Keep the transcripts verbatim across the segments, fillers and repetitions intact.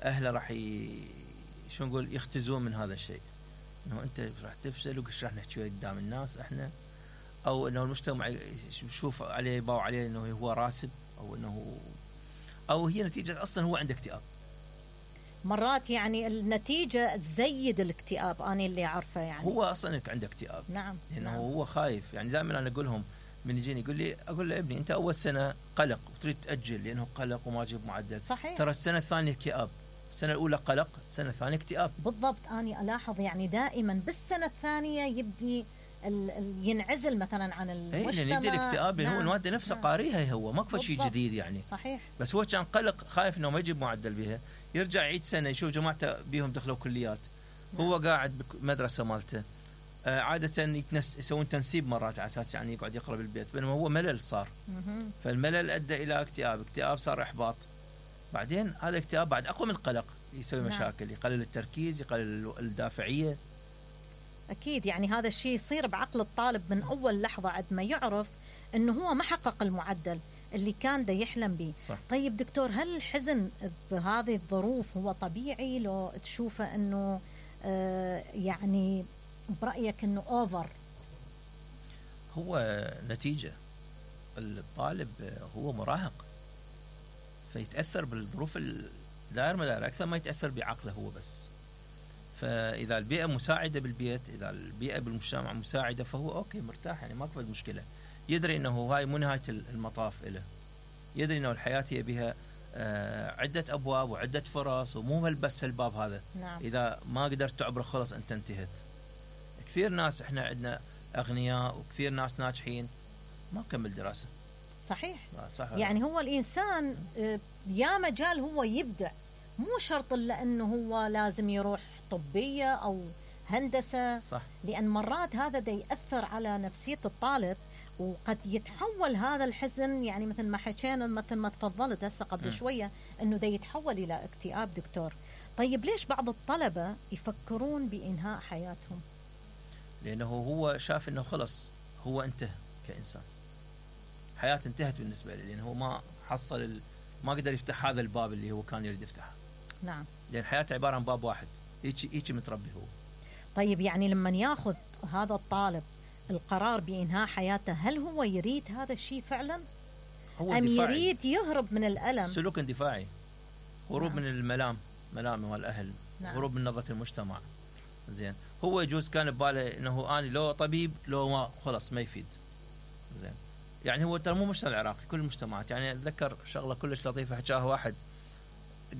اهله راح ي... شو نقول يختزون من هذا الشيء، انه انت راح تفشل وش راح نحكي قدام الناس احنا، او انه المجتمع يشوف عليه يباوع عليه انه هو راسب، او انه او هي نتيجه اصلا هو عنده اكتئاب. مرات يعني النتيجه تزيد الاكتئاب، انا اللي عارفه يعني هو اصلا عنده اكتئاب. نعم لانه نعم. هو خايف، يعني دائما انا اقول لهم من يجيني يقول لي اقول له ابني انت اول سنه قلق وتريد تاجل لانه قلق وما جيب معدل، صحيح. ترى السنه الثانيه اكتئاب، السنه الاولى قلق، السنه الثانيه اكتئاب. بالضبط، اني الاحظ يعني دائما بالسنه الثانيه يبدي ال ال ينعزل مثلا عن المجتمع. اي يبدي الاكتئاب. نعم. هو الماده نفسها نعم. قاريها، هو ماكو شيء جديد يعني. صحيح. بس هو كان قلق خايف انه ما يجيب معدل بها، يرجع يعيد سنه يشوف جماعته بيهم دخلوا كليات. نعم. هو قاعد بمدرسه مالته آه عاده يتنس يسوون تنسيب مرات على اساس يعني يقعد يقرا بالبيت، بينما هو ملل صار. مه. فالملل ادى الى اكتئاب، اكتئاب صار احباط، بعدين هذا الاكتئاب بعد اقوى من القلق يسوي نعم. مشاكل، يقلل التركيز، يقلل الدافعيه. اكيد يعني هذا الشيء يصير بعقل الطالب من اول لحظه عند ما يعرف انه هو ما حقق المعدل اللي كان دا يحلم به. صح. طيب دكتور، هل الحزن بهذه الظروف هو طبيعي لو تشوفه انه آه يعني برايك انه اوفر؟ هو نتيجه الطالب هو مراهق، فيتاثر بالظروف الدائر مدار اكثر ما يتاثر بعقله هو بس. فاذا البيئه مساعده بالبيت، اذا البيئه بالمجتمع مساعده، فهو اوكي مرتاح، يعني ماكو مشكله، يدري انه هاي مو نهايه المطاف له، يدري انه الحياه هي بها آه عده ابواب وعده فرص، ومو بس الباب هذا. نعم. اذا ما قدرت تعبره خلص انت انتهت. كثير ناس احنا عندنا اغنياء وكثير ناس ناجحين ما كمل دراسه. صحيح. صح. يعني هو الانسان يا مجال هو يبدع، مو شرط الا انه هو لازم يروح طبيه او هندسه. صح. لان مرات هذا دا ياثر على نفسيه الطالب، وقد يتحول هذا الحزن يعني مثل ما حكينا مثل ما تفضلت هسه قبل م. شويه انه دا يتحول الى اكتئاب دكتور. طيب ليش بعض الطلبه يفكرون بانهاء حياتهم؟ لانه هو شاف انه خلص هو انتهى كانسان، حياته انتهت بالنسبه له، لانه هو ما حصل ال... ما قدر يفتح هذا الباب اللي هو كان يريد يفتحه. نعم. لان حياته عباره عن باب واحد، هيك هيك متربي هو. طيب يعني لما ياخذ هذا الطالب القرار بإنهاء حياته، هل هو يريد هذا الشيء فعلا؟ هو أم دفاعي. يريد يهرب من الألم؟ سلوك اندفاعي، هروب نعم. من الملام، ملام والأهل، نعم. هروب من نظرة المجتمع. زين، هو يجوز كان بباله انه اني لو طبيب لو ما خلص ما يفيد. زين، يعني هو ترى مو مجتمع العراقي، كل المجتمعات. يعني اتذكر شغله كلش لطيفه حكاها واحد،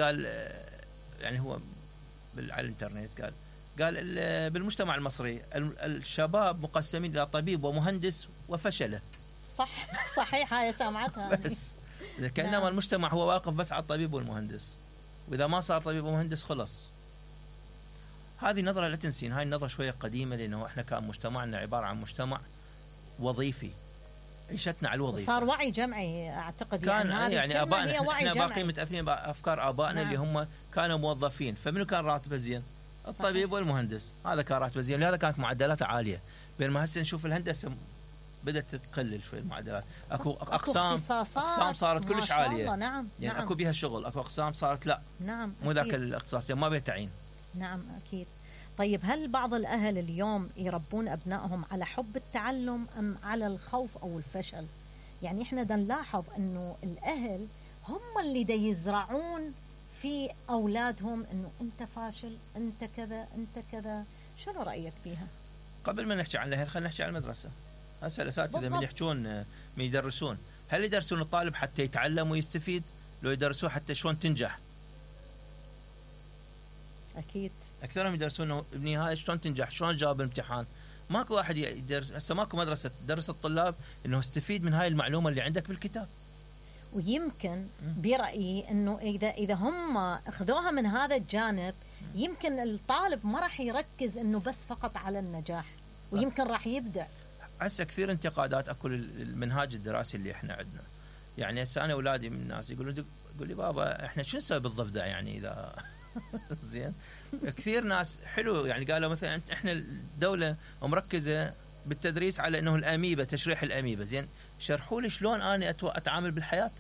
قال يعني هو على الانترنت، قال قال بالمجتمع المصري الشباب مقسمين الى طبيب ومهندس وفشله. صح. صحيح، هاي سامعتها. بس كانما نعم. المجتمع هو واقف بس على الطبيب والمهندس، واذا ما صار طبيب ومهندس خلص. هذه نظره لا تنسين، هاي النظره شويه قديمه، لانه احنا كان مجتمعنا عباره عن مجتمع وظيفي، عيشتنا على الوظيفه. صار وعي جمعي اعتقد، كان يعني, يعني ابائنا احنا باقي متاثرين بافكار ابائنا. نعم. اللي هم كانوا موظفين، فمنو كان راتبه زين؟ الطبيب والمهندس، هذا كان راتبه زين، لهذا كانت معدلاته عاليه. بينما هسه نشوف الهندسه بدات تقلل شوي المعدلات، اكو اقسام اقسام صارت كلش عاليه. نعم. يعني نعم. اكو بها شغل، اكو اقسام صارت لا نعم مو ذاك الاختصاص ما بها تعيين. نعم اكيد. طيب هل بعض الاهل اليوم يربون ابنائهم على حب التعلم ام على الخوف او الفشل؟ يعني احنا دا نلاحظ انه الاهل هم اللي دا يزرعون في اولادهم انه انت فاشل، انت كذا، انت كذا. شنو رايك فيها؟ قبل ما نحكي عن الاهل خلينا نحكي عن المدرسه. هسه الاساتذه من يحجون من يدرسون، هل يدرسون الطالب حتى يتعلم ويستفيد، لو يدرسوه حتى شلون تنجح؟ اكيد اكثرهم يدرسون ابني هاي شلون تنجح، شلون تجاوب الامتحان. ماكو واحد يدرس، هسه ماكو مدرسه تدرس الطلاب انه استفيد من هاي المعلومه اللي عندك بالكتاب. ويمكن برايي انه اذا اذا هم اخذوها من هذا الجانب، يمكن الطالب ما راح يركز انه بس فقط على النجاح، ويمكن راح يبدع. هسه كثير انتقادات اكو المنهاج الدراسي اللي احنا عندنا. يعني هسه انا اولادي من الناس يقولوا يقول لي بابا احنا شو نسوي بالضفدع يعني اذا زين. كثير ناس حلو يعني قالوا مثلا احنا الدوله مركزه بالتدريس على انه الاميبا، تشريح الاميبا. زين، شرحوا لي شلون انا اتعامل بالحياه.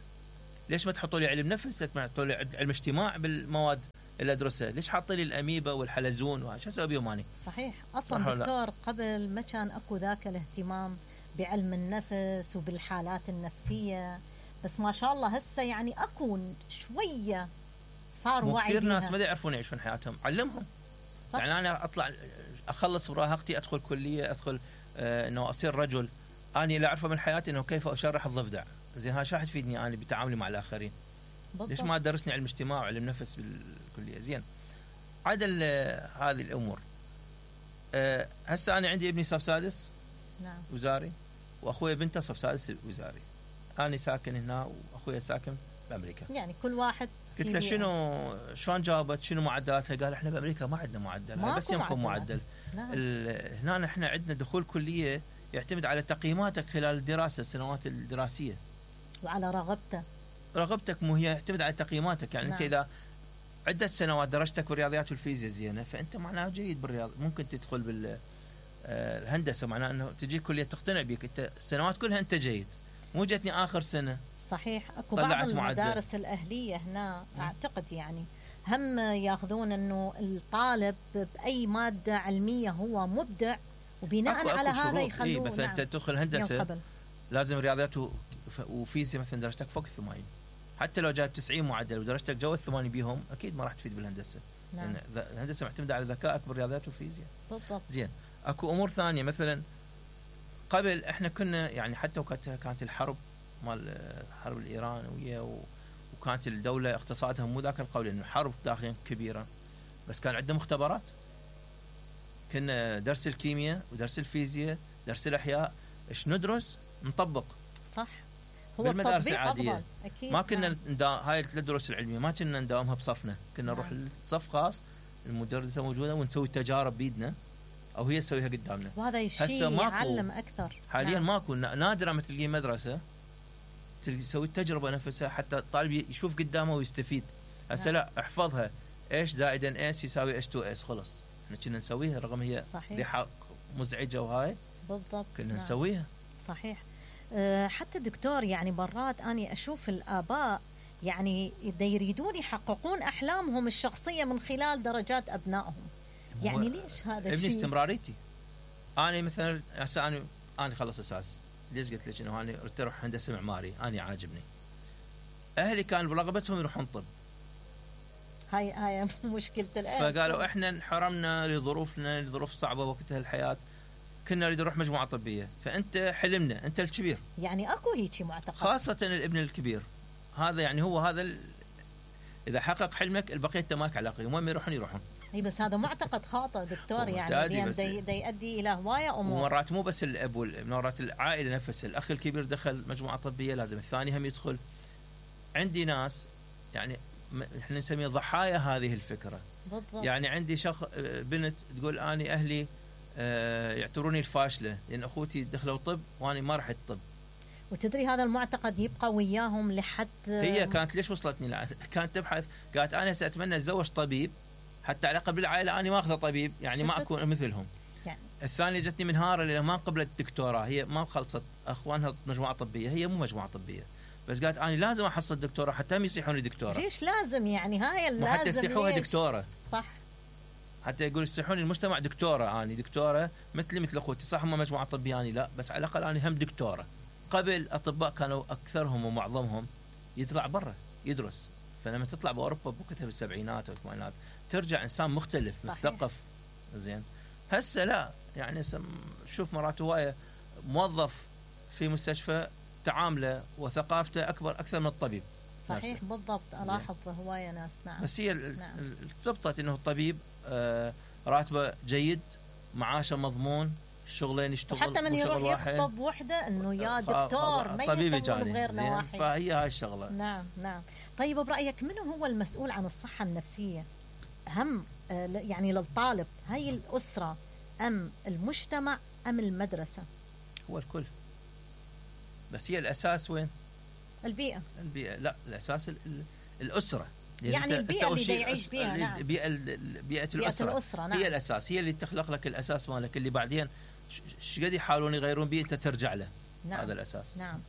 ليش ما تحطوا لي علم نفس، ما تحطوا لي علم اجتماع بالمواد اللي ادرسها، ليش حاطين لي الاميبا والحلزون وشو اسوي بيهم اني؟ صحيح. اصلا دكتور قبل ما كان اكو ذاك الاهتمام بعلم النفس وبالحالات النفسيه، بس ما شاء الله هسه يعني اكو شويه صار وعي. كثير ناس ما يعرفون يعيشون حياتهم، علمهم. صح. يعني انا اطلع اخلص مراهقتي، ادخل كليه، ادخل آه انه اصير رجل، اني لا اعرفه من حياتي انه كيف اشرح الضفدع. زين هذا شو حتفيدني انا بتعاملي مع الاخرين؟ بالضبط. ليش ما درسني علم اجتماع وعلم نفس بالكليه؟ زين عدل هذه الامور. أه هسه انا عندي ابني صف سادس نعم وزاري، واخوي بنته صف سادس وزاري. انا ساكن هنا واخويا ساكن بامريكا. يعني كل واحد. قلت له شنو شلون جاوبت؟ شنو معدلاتها؟ قال احنا بامريكا ما عندنا معدل، بس يمكن معدل. نعم. هنا احنا عندنا دخول كليه يعتمد على تقييماتك خلال الدراسه، السنوات الدراسيه، وعلى رغبته. رغبتك مو هي يعتمد على تقييماتك. يعني نعم. انت اذا عدة سنوات درجتك بالرياضيات والفيزياء زينه، فانت معناه جيد بالرياض، ممكن تدخل بالهندسه، معناه انه تجي كليه تقتنع بك، انت السنوات كلها انت جيد، مو جتني اخر سنه. صحيح. اكو بعض المدارس معدل. الاهليه هنا اعتقد يعني هم ياخذون انه الطالب باي ماده علميه هو مبدع، وبناء أكو على أكو هذا يخلوه. إيه مثلا انت نعم. تدخل هندسه لازم رياضيات وفيزياء مثلا درجتك فوق الثمانين، حتى لو جايب تسعين معدل ودرجتك جو الثمانين بيهم اكيد ما راح تفيد بالهندسه. نعم. يعني الهندسه معتمده على ذكائك بالرياضيات والفيزياء. بالضبط. زين اكو امور ثانيه، مثلا قبل احنا كنا يعني حتى وقت كانت الحرب مال الحرب الايرانيه وكانت الدوله اقتصادها مو ذاك القوي، لانه حرب داخليا كبيره، بس كان عندنا مختبرات. كنا درس الكيمياء ودرس الفيزياء درس الاحياء ايش ندرس نطبق. صح. هو بالمدارس العاديه أكيد. ما كنا نعم. ندا... هاي الدروس العلميه ما كنا نداومها بصفنا، كنا نروح نعم. لصف خاص، المدرسه موجوده ونسوي تجارب بيدنا او هي تسويها قدامنا، وهذا الشيء يعلم اكثر. حاليا نعم. ماكو، نادرا ما تلقي مدرسه تلقي تسوي التجربه نفسها حتى الطالب يشوف قدامه ويستفيد. هسه نعم. لا احفظها ايش زائد ان اس يساوي اتش تو اس، خلص احنا كنا نسويها رغم هي ريحه مزعجه وهاي. بالضبط. كنا نعم. نسويها. صحيح. أه حتى دكتور يعني مرات اني اشوف الاباء يعني يريدون يحققون احلامهم الشخصيه من خلال درجات ابنائهم. يعني ليش هذا الشيء؟ ابني استمراريتي. انا مثلا هسه انا انا خلص اساس، ليش قلت لك انه انا اريد اروح هندسه معماري، انا عاجبني. اهلي كان برغبتهم يروحون طب. هاي هاي مشكله الان. فقالوا احنا انحرمنا لظروفنا، لظروف صعبه وقتها الحياه، كنا نريد نروح مجموعه طبيه، فانت حلمنا انت الكبير. يعني اكو هيك معتقد، خاصه الابن الكبير هذا، يعني هو هذا ال... اذا حقق حلمك البقيه انت ماك علاقه، وين يروحون يروحون. اي بس هذا معتقد خاطئ دكتور، يعني دي, دي يؤدي الى هوايه امور. ومرات مو بس الاب والابن، مرات العائله نفسها، الاخ الكبير دخل مجموعه طبيه لازم الثاني هم يدخل. عندي ناس يعني احنا نسميها ضحايا هذه الفكره. بالضبط. يعني عندي شخص بنت تقول اني اهلي اه يعتبروني الفاشله لان اخوتي دخلوا طب وانا ما رحت طب. وتدري هذا المعتقد يبقى وياهم لحد. هي كانت ليش وصلتني لا. كانت تبحث، قالت انا ساتمنى اتزوج طبيب حتى على الاقل بالعائله اني ما اخذ طبيب، يعني ما اكون مثلهم. يعني. الثانيه جتني منهاره لان ما قبلت الدكتوراه، هي ما خلصت اخوانها مجموعه طبيه، هي مو مجموعه طبيه، بس قالت انا لازم احصل دكتوره حتى هم يصيحوني دكتوره. ليش لازم يعني هاي اللازم؟ حتى يصيحوها دكتوره. صح. حتى يقول يصيحوني المجتمع دكتوره، اني دكتوره مثلي مثل اخوتي، صح هم مجموعه طبيه اني لا، بس على الاقل اني هم دكتوره. قبل اطباء كانوا اكثرهم ومعظمهم يطلع برا يدرس، فلما تطلع باوروبا بوقتها بالسبعينات والثمانينات ترجع انسان مختلف مثقف. زين هسه لا، يعني شوف مرات هوايه موظف في مستشفى تعامله وثقافته اكبر اكثر من الطبيب. صحيح نفسه. بالضبط. الاحظ هوايه ناس. نعم. بس هي نعم. ارتبطت انه الطبيب آه راتبه جيد، معاشه مضمون، شغلين يشتغل، حتى من يروح يخطب وحده انه يا دكتور ما طبيب جاني بغير نواحي، فهي هاي الشغله. نعم نعم. طيب برايك منو هو المسؤول عن الصحه النفسيه؟ هم يعني للطالب، هاي الاسره ام المجتمع ام المدرسه؟ هو الكل، بس هي الاساس وين؟ البيئه. البيئه لا، الاساس الاسره، يعني البيئه اللي يعيش فيها. نعم. بيئه بيئه الاسره, الأسرة. نعم. هي الاساس، هي اللي تخلق لك الاساس مالك اللي بعدين ايش قد يحاولون يغيرون بيه انت ترجع له. نعم. هذا الاساس. نعم.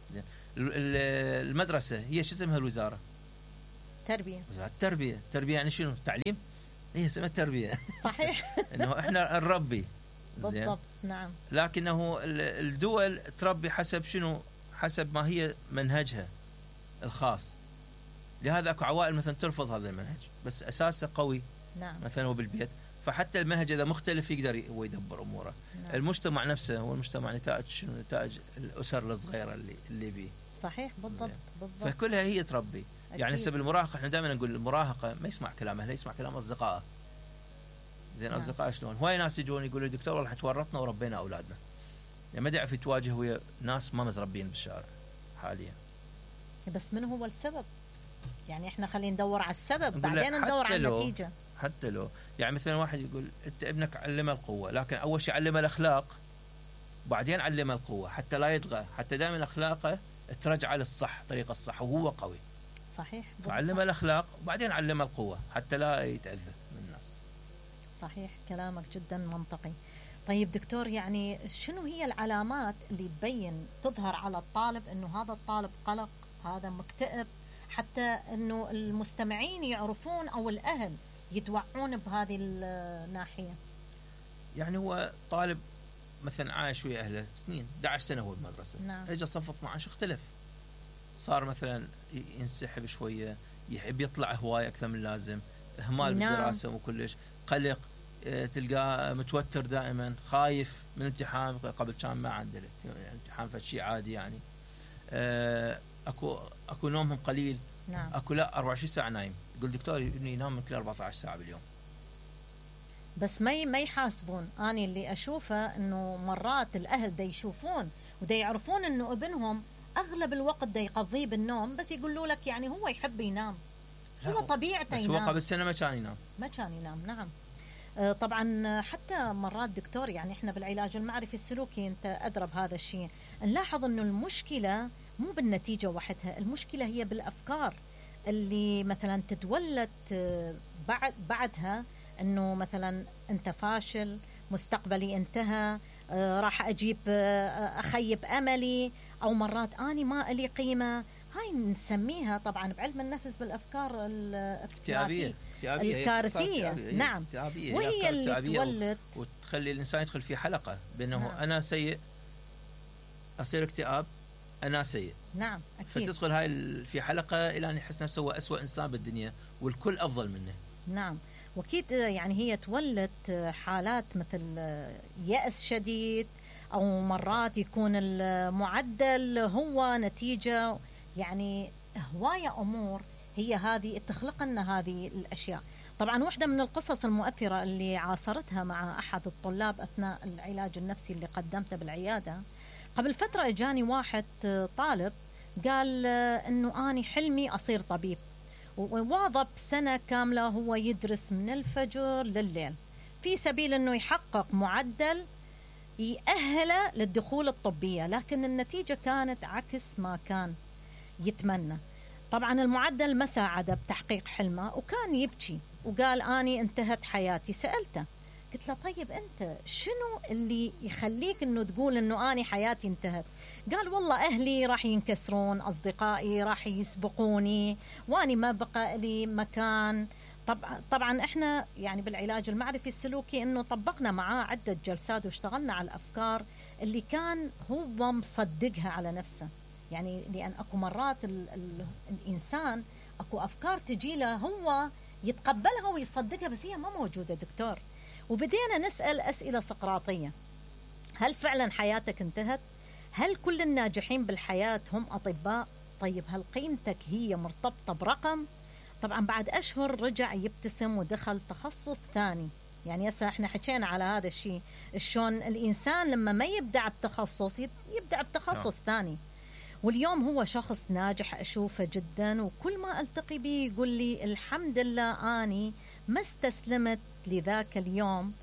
المدرسه هي شو اسمها الوزاره؟ تربيه. وزارة التربيه. التربيه يعني شنو؟ تعليم. هي اسمها تربيه. صحيح. انه احنا نربي. بالضبط. نعم. لكنه الدول تربي حسب شنو؟ حسب ما هي منهجها الخاص. لهذا اكو عوائل مثلا ترفض هذا المنهج بس اساسه قوي. نعم. مثلا هو بالبيت، فحتى المنهج اذا مختلف يقدر هو يدبر اموره. نعم. المجتمع نفسه هو المجتمع نتاج شنو؟ نتاج الاسر الصغيره اللي اللي بيه. صحيح. بالضبط. بالضبط. فكلها هي تربي. أكيد. يعني هسه بالمراهقه احنا دائما نقول المراهقه ما يسمع كلام اهله، يسمع كلام اصدقائه. زين. نعم. اصدقائه شلون؟ هواي ناس يجون يقولوا لي دكتور والله تورطنا وربينا اولادنا. يعني ما يعرف يتواجه ويا ناس ما متربين بالشارع حاليا. بس من هو السبب؟ يعني احنا خلينا ندور على السبب بعدين ندور على النتيجه. حتى لو يعني مثلا واحد يقول انت ابنك علمه القوه، لكن اول شيء علمه الاخلاق بعدين علمه القوه حتى لا يطغى، حتى دائما اخلاقه ترجع للصح، طريق الصح وهو قوي. صحيح. فعلمه الاخلاق وبعدين علمه القوه حتى لا يتاذى من الناس. صحيح. كلامك جدا منطقي. طيب دكتور، يعني شنو هي العلامات اللي تبين تظهر على الطالب انه هذا الطالب قلق، هذا مكتئب، حتى انه المستمعين يعرفون او الاهل يتوعون بهذه الناحيه؟ يعني هو طالب مثلا عايش ويا اهله سنين، أحد عشر سنه هو بالمدرسه. نعم. اجى صف اثني عشر اختلف، صار مثلا ينسحب شويه، يحب يطلع هوايه اكثر من اللازم، اهمال نعم. بالدراسه وكلش، قلق، تلقاه متوتر دائما، خايف من امتحان. قبل كان ما عنده امتحان فشي عادي يعني. اكو اكو نومهم قليل. نعم. اكو لا أربعة وعشرين ساعه نايم. يقول دكتور ابني ينام من كل أربعة عشر ساعه باليوم. بس ما ما يحاسبون. أنا اللي أشوفه إنه مرات الأهل دا يشوفون ودا يعرفون إنه ابنهم أغلب الوقت دا يقضيه بالنوم، بس يقولوا لك يعني هو يحب ينام، هو طبيعته ينام. بس هو قبل سنة ما كان ينام. ما كان ينام. نعم. طبعا حتى مرات دكتور يعني احنا بالعلاج المعرفي السلوكي انت ادرى بهذا الشيء، نلاحظ انه المشكله مو بالنتيجه وحدها، المشكله هي بالافكار اللي مثلا تتولد بعد بعدها، انه مثلا انت فاشل، مستقبلي انتهى، راح اجيب اخيب املي، او مرات اني ما لي قيمه. هاي نسميها طبعا بعلم النفس بالافكار الاكتئابيه الكارثيه. نعم. وهي اللي تولد وتخلي الانسان يدخل في حلقه بانه نعم. انا سيء، اصير اكتئاب، انا سيء. نعم اكيد. فتدخل هاي في حلقه الى ان يحس نفسه هو اسوء انسان بالدنيا والكل افضل منه. نعم. واكيد يعني هي تولد حالات مثل يأس شديد، او مرات يكون المعدل هو نتيجه يعني هوايه امور هي هذه تخلق لنا هذه الاشياء. طبعا واحده من القصص المؤثره اللي عاصرتها مع احد الطلاب اثناء العلاج النفسي اللي قدمته بالعياده، قبل فتره اجاني واحد طالب قال انه اني حلمي اصير طبيب، وواظب سنه كامله هو يدرس من الفجر لليل في سبيل انه يحقق معدل يأهله للدخول الطبيه، لكن النتيجه كانت عكس ما كان يتمنى. طبعا المعدل ما ساعده بتحقيق حلمه وكان يبكي وقال اني انتهت حياتي. سألته قلت له طيب انت شنو اللي يخليك انه تقول انه اني حياتي انتهت؟ قال والله اهلي راح ينكسرون، اصدقائي راح يسبقوني، واني ما بقى لي مكان. طبعا طبعا احنا يعني بالعلاج المعرفي السلوكي انه طبقنا معاه عده جلسات واشتغلنا على الافكار اللي كان هو مصدقها على نفسه. يعني لأن أكو مرات ال ال الإنسان أكو أفكار تجي له هو يتقبلها ويصدقها بس هي ما موجودة دكتور. وبدينا نسأل أسئلة سقراطية: هل فعلا حياتك انتهت؟ هل كل الناجحين بالحياة هم أطباء؟ طيب هل قيمتك هي مرتبطة برقم؟ طبعا بعد أشهر رجع يبتسم ودخل تخصص ثاني. يعني هسه احنا حكينا على هذا الشيء، شلون الإنسان لما ما يبدع بتخصص يبدع بتخصص ثاني. واليوم هو شخص ناجح أشوفه جدا، وكل ما ألتقي به يقول لي الحمد لله أني ما استسلمت لذاك اليوم،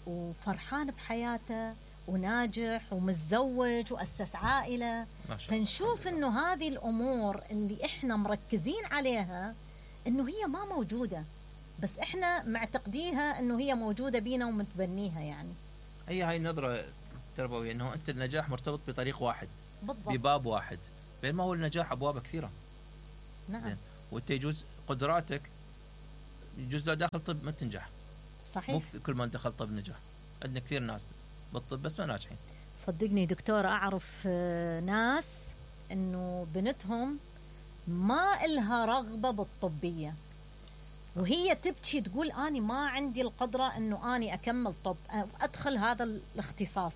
وفرحان بحياته وناجح ومتزوج وأسس عائلة. فنشوف إنه هذه الأمور اللي إحنا مركزين عليها إنه هي ما موجودة، بس إحنا معتقديها إنه هي موجودة بينا ومتبنيها. يعني هي هاي النظرة التربوية إنه أنت النجاح مرتبط بطريق واحد، بالضبط، بباب واحد، بينما هو النجاح أبواب كثيرة. نعم. وأنت يجوز قدراتك يجوز لو داخل طب ما تنجح. صحيح. مو كل من دخل طب نجح. عندنا كثير ناس بالطب بس ما ناجحين. صدقني دكتور أعرف ناس إنه بنتهم ما إلها رغبة بالطبية وهي تبكي تقول أنا ما عندي القدرة إنه أنا أكمل طب أدخل هذا الاختصاص.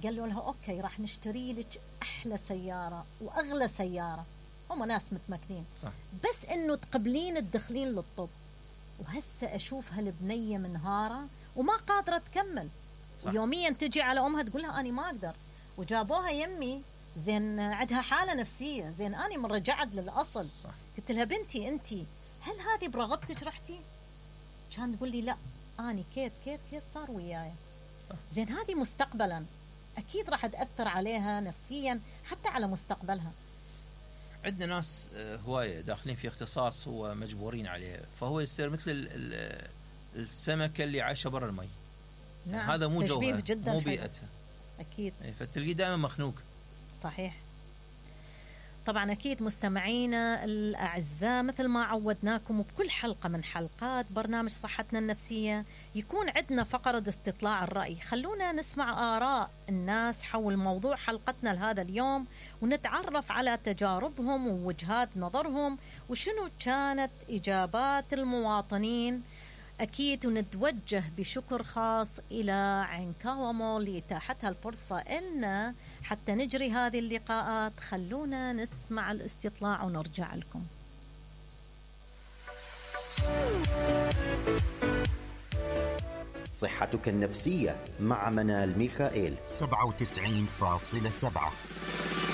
قالوا لها أوكي راح نشتري لك أحلى سيارة وأغلى سيارة. هم ناس متمكنين. صح. بس إنه تقبلين تدخلين للطب. وهسه أشوف هالبنية منهارة وما قادرة تكمل. صح. يوميا تجي على أمها تقول لها أنا ما أقدر. وجابوها يمي زين عندها حالة نفسية زين أنا من رجعت للأصل. صح. قلت لها بنتي أنتي هل هذه برغبتك رحتي؟ كان تقول لي لا أنا كيت كيت كيت صار وياي. زين هذه مستقبلا أكيد راح تأثر عليها نفسيا حتى على مستقبلها. عندنا ناس هواية داخلين في اختصاص هو مجبورين عليه فهو يصير مثل السمكة اللي عايشة برا المي. نعم. هذا مو جوها جدا مو بيئتها. أكيد. فتلقيه دائما مخنوق. صحيح. طبعا أكيد مستمعينا الأعزاء مثل ما عودناكم وبكل حلقة من حلقات برنامج صحتنا النفسية يكون عندنا فقرة استطلاع الرأي. خلونا نسمع آراء الناس حول موضوع حلقتنا لهذا اليوم ونتعرف على تجاربهم ووجهات نظرهم وشنو كانت إجابات المواطنين. أكيد ونتوجه بشكر خاص إلى عنكاوا مول لإتاحتها الفرصة إلنا حتى نجري هذه اللقاءات. خلونا نسمع الاستطلاع ونرجع لكم. صحتك النفسية مع منال ميخائيل. سبعة وتسعين فاصلة سبعة